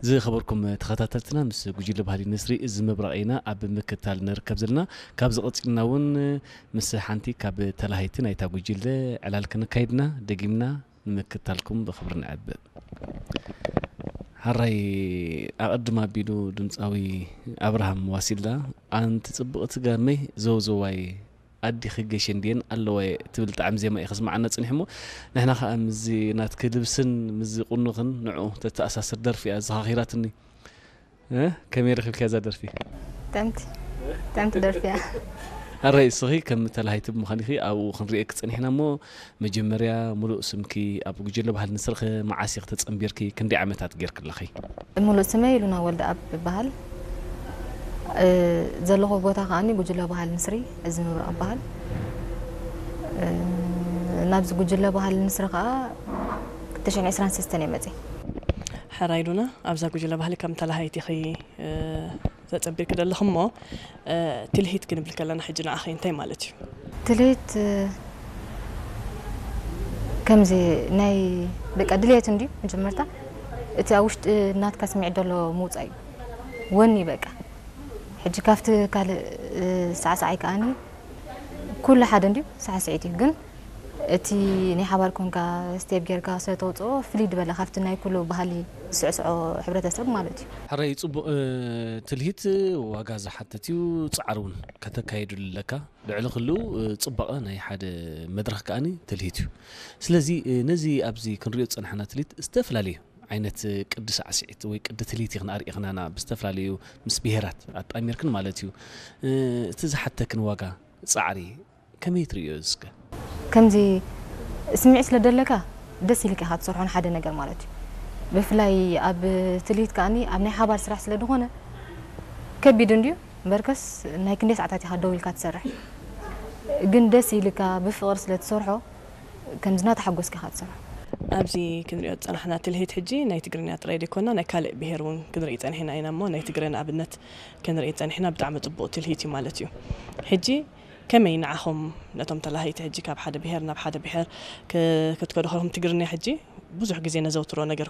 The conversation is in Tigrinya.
ዝኸበርኩም ተኸታተልትና፣ ምስ ጉጅለ ባህሊ ንስሪ እዚ ምብራቕ ኢና ኣብ ምክታል ንርከብ ዘለና። ካብዚ ቀጺልና እውን ምስ ሓንቲ ካብ ተላሃይቲ ናይታ ጉጅለ ዕላል ክንካይድና ደጊምና ንምክታልኩም ብኽብሪ ንዕብእ። ሓራይ ኣቐድም ኣቢሉ ድምፃዊ ኣብርሃም ዋሲላ፣ ኣንቲ ጽብቕቲ ጋመይ ዘውዘዋይ ኣዲኺ ገሸ እንድየን ኣለዋ ትብል ጣዕሚ ዜማ እዩ ከስምዓና ጽኒሑ እሞ፣ ንሕና ኸኣ ምስዚ ናትኪ ልብስን ምስዚ ቁኖኽን ንዕኡ ተተኣሳስር ደርፊ እያ ዘኻኺራትኒ። እ? ከመይ ረኺብክያ እዛ ደርፊ? ጠምቲ ጠምቲ ደርፊያ። ኣራይ እስኺ ከም ተላሃይቲ ብምዃንኺ ኣብኡ ክንርእየኪ ጸኒሕና እሞ፣ መጀመርያ ሙሉእ ስምኪ፣ ኣብ ጉጅለ ባህሊ ንስርኺ መዓስ ኢኺ ተጸንቢርኪ፣ ክንደይ ዓመታት ጌርኪ ኣለኺ? ሙሉእ ስመይ ሉና ወልደኣብ ይበሃል። እ፣ ዘለኹ ቦታ ከኣኒ ጉጅለ ባህሊ ንስሪ እዚ ምብራቕ ይበሃል። እ፣ ናብዚ ጉጅለ ባህሊ ንስሪ ከኣ ክልተ ሽሕን ዕስራን ሰለስተን እየ መፅእ። ሕራይ ሉና፣ ኣብዛ ጉጅለ ባህሊ ከም ተላሃይቲ ኢኺ፣ እ፣ ተጸንቢርኪ ዘለኺ እሞ፣ እ፣ ትልሂት ክንብል ከለና ሕጂ ንዓኺ እንታይ ማለት እዩ? ትልሂት፣ እ፣ ከምዚ ናይ በቃ ድልየት እንድዩ መጀመርታ። እቲ ኣብ ውሽጢ ናትካ ስምዒት ዘሎ ምውጻእ እዩ። ወኒ በቃ። ሕጂ ካብቲ ካልእ፣ እ፣ ሳዕሳዓይ ከኣኒ ኩሉ ሓደ እንድዩ ሳዕስዒት እዩ። ግን እቲ ናይ ሓባር ኮንካ ስቴፕ ጌርካ ስለ ተውጽኦ ፍልይ ዝበለ ካብቲ ናይ ኩሉ ባህሊ ዝስዕስዖ ሕብረተሰብ ማለት እዩ። ሕራይ ጽቡቕ፣ እ፣ ትልሂት ዋጋ ዝሓትት እዩ። ጻዕሪ እውን ከተካይድሉ ኣለካ። ልዕሊ ኩሉ፣ እ፣ ጽባቐ ናይ ሓደ መድረኽ ከኣኒ ትልሂት እዩ። ስለዚ፣ እ፣ ነዚ ኣብዚ ክንሪኦ ዝጸናሕና ትልሂት ዝተፈላለዩ ዓይነት ቅዲ ሳዕስዒት ወይ ቅዲ ትልሂት ኢኽን ኣርኢኽናና ብዝተፈላለዩ ምስ ብሄራት ኣጣሚርክን ማለት እዩ። እ፣ እቲ ዝሓተክን ዋጋ ጻዕሪ ከመይ ትርእዮ እስከ? ከምዚ ስምዒት ስለ ደለካ ደስ ኢልካ ኢኻ ትሰርሖ ንሓደ ነገር ማለት እዩ። ብፍላይ ኣብ ትልሂት ከኣኒ ኣብ ናይ ሓባር ስራሕ ስለ ዝኾነ ከቢድ እንድዩ። እምበርከስ ናይ ክንደይ ሰዓታት ኢኻ ደው ኢልካ ትሰርሕ። ግን ደስ ኢልካ ብፍቕሪ ስለ ትሰርሖ ከምዚ እናተሓጎስካ ኢኻ ትሰርሖ። ኣብዚ ክንሪኦ ዝጸናሕና ትልሂት ሕጂ ናይ ትግርኛ ጥራይ ዘይኮና ናይ ካልእ ብሄር እውን ክንርኢ ጸኒሕና ኢና እሞ ናይ ትግረ ንኣብነት ክንርኢ ጸኒሕና ብጣዕሚ ጽቡቕ ትልሂት እዩ ማለት እዩ። ሕጂ ከመይ ንዓኹም ነቶም ተላሃይቲ ሕጂ ካብ ሓደ ብሄር ናብ ሓደ ብሄር ክ-፣ ክትከዱ ከለኹም ትግርኛ ሕጂ ብዙሕ ግዜ ነዘውትሮ ነገር